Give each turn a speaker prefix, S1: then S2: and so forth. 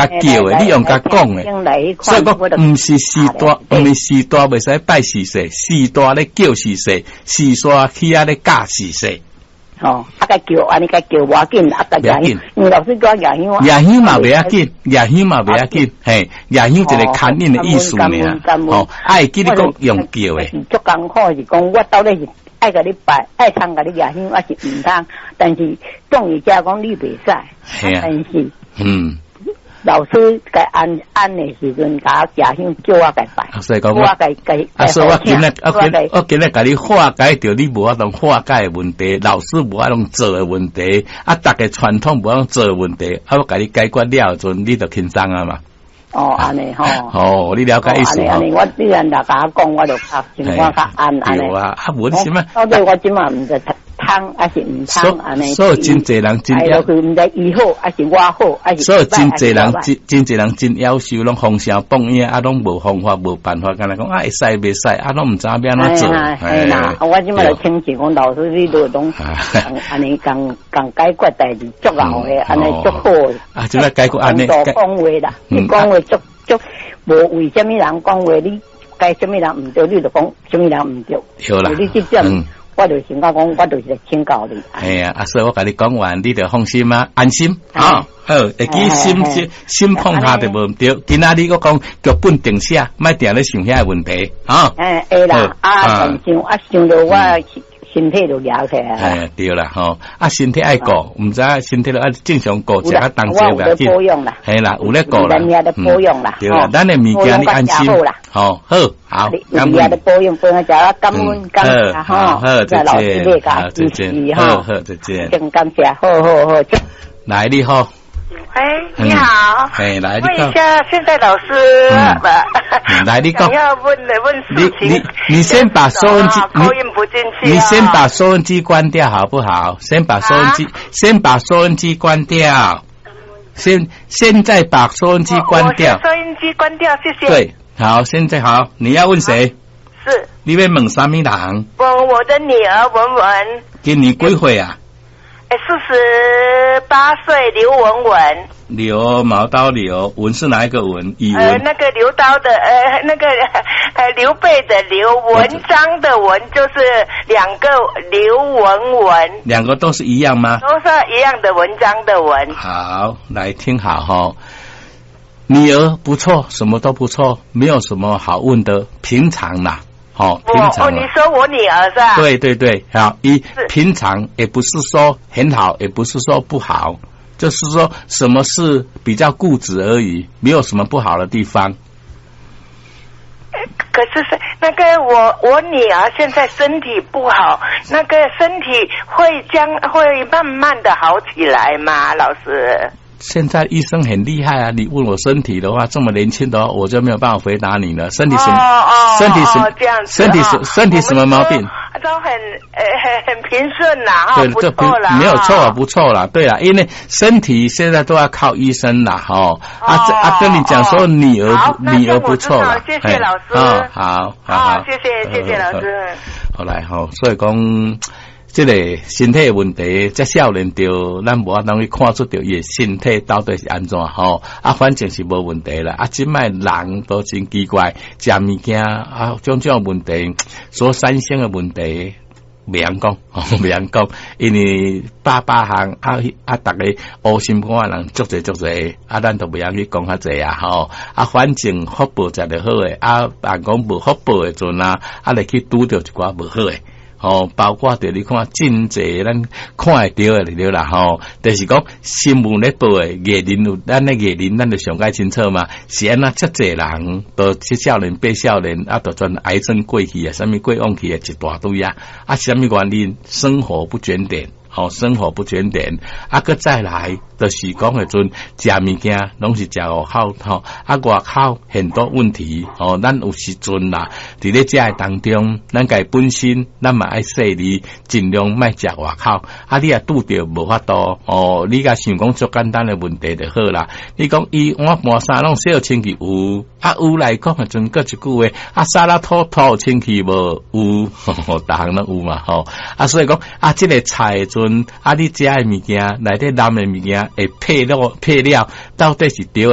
S1: 共叫的，你用共講的。所以講，毋是序大，毋是序大袂使拜序細，序大咧叫序細，序細起仔咧教序細。
S2: 哦，啊，共叫按呢共叫無要緊，啊，共舉香，因為老師叫我舉香。
S1: 舉香嘛袂要緊，舉香嘛袂要緊，嘿，舉香一個牽引的意思爾。哦，愛記你講用叫的。
S2: 是足艱苦，是講我到底是愛共你拜，愛通共你舉香，抑是毋通？但是當伊遮講你袂使，但是，老師共按按的時陣，共我舉香叫我共拜。
S1: 所以講我，啊，所以我今日我今日共你化解著你無法度化解的問題，老師無法度做的問題，啊，逐个傳統無法度做的問題，啊，我共你解決了陣，你就輕鬆啊嘛。
S2: 哦，按呢吼。
S1: 哦，你了解意思。
S2: 按呢，我你若共我講，我就較心肝較安按呢。
S1: 對啊，啊，無你啥物？
S2: 到底我這馬毋知通抑是毋通按呢？
S1: 所以真濟人真
S2: 要，毋知伊好抑是我好，抑是
S1: 所以真濟人真真濟人真夭壽，攏封聲放影啊，攏無方法無辦法，敢若講啊會使袂使啊，攏毋知影欲按怎做。
S2: 嘿啦，我這馬就請示講老師，你都攏按呢共共解決代誌足𠢕的，按呢足好。
S1: 啊，這馬解決按呢？
S2: 講話啦，你講話足足無為啥物人講話，你該啥物人毋對，你就講啥物人毋對。
S1: 對啦，
S2: 你這點。我就想講，我就是來請教你。
S1: 嘿啊，啊，所以我共你講完，你就放心啊，安心啊。好，會記心心心放下就無毋對。今仔日閣講劇本定寫，莫定咧想遐个問題啊。
S2: 哎，會啦，啊，想啊，想著我身體就夯起來。
S1: 哎，對啦，吼，啊，身體愛顧，毋知身體著愛正常顧，食較當齊袂要緊。嘿啦，有咧顧啦。
S2: 咱遐咧保養啦。
S1: 對啦，咱的物件你安心。好，好，好，
S2: 感恩。咧保養，保養食啊，感恩感謝吼。
S1: 好，再見。
S2: 好，
S1: 再見。好好，再見。
S2: 真感謝，好好好。
S1: 來，你好。
S3: 哎，你好。
S1: 哎，來，
S3: 問一下，現在老師，
S1: 來，你講。
S3: 想要問的問事情。
S1: 你先把收音機，
S3: 你不進去。
S1: 你先把收音機關掉好不好？先把收音機，先把收音機關掉。先現在把收音機關掉。
S3: 收音機關掉，謝謝。
S1: 對，好，現在好，你要問誰？
S3: 是。
S1: 你欲問啥物人？
S3: 問我的女兒文文。
S1: 今年幾歲啊？
S3: 48歲，劉文文。
S1: 劉毛刀劉文是哪一個文？語文。
S3: 那個劉刀的，那個劉備的劉，文章的文，就是兩個劉文文。
S1: 兩個都是一樣嗎？
S3: 都是一樣的文章的文。
S1: 好，來聽好哈。女兒不錯，什麼都不錯，沒有什麼好問的，平常啦。好，平常。
S3: 哦，你說我女兒是吧？
S1: 對對對，好，一平常也不是說很好，也不是說不好，就是說什麼事比較固執而已，沒有什麼不好的地方。
S3: 可是是那個我女兒現在身體不好，那個身體會將會慢慢的好起來嗎？老師？
S1: 現在醫生很厲害啊！你問我身體的話，這麼年輕的話，我就沒有辦法回答你了。身體什麼？身體什麼？身體什身體什麼毛病？
S3: 都很平順啦，
S1: 對，這不沒有錯啊，不錯啦。對啦，因為身體現在都要靠醫生啦，哈。啊啊，跟你講說女兒不錯啦。
S3: 謝謝老師。
S1: 好，好，
S3: 謝謝謝謝老師。
S1: 好來，好，所以講。這個身體的問題，這少年著咱無法度去看出著伊的身體到底是按怎吼啊，反正是無問題啦。啊，這擺人都真奇怪，食物件啊，種種問題，所產生的問題，袂曉講，袂曉講，因為百百項啊啊，逐个烏心肝的人足濟足濟，啊，咱都袂曉去講較濟啊吼。啊，反正福報食著好的，啊，人講無福報的陣啊，啊，會去拄著一寡無好的。吼，包括著你看真濟咱看會著的對啦吼，就是講新聞咧報的藝人有咱的藝人，咱就上蓋清楚嘛。是按怎遮濟人都七少年八少年啊，都全癌症過去啊，啥物過往去啊，一大堆啊，啊，啥物原因？生活不檢點。吼，生活不檢點，啊，閣再來，就是講彼陣食物件攏是食外口吼，啊，外口很多問題，吼，咱有時陣啦，佇咧食的當中，咱家本身咱嘛愛細膩，盡量莫食外口。啊，你若拄著無法度，哦，你共想講足簡單的問題就好啦。你講伊碗盤衫攏洗清氣有，啊有來講彼陣閣一句話，啊沙拉塗塗有清氣無？有，逐項攏有嘛吼。啊，所以講啊，這个菜的陣。啊！你食的物件內底淋的物件會配料配料，到底是對的？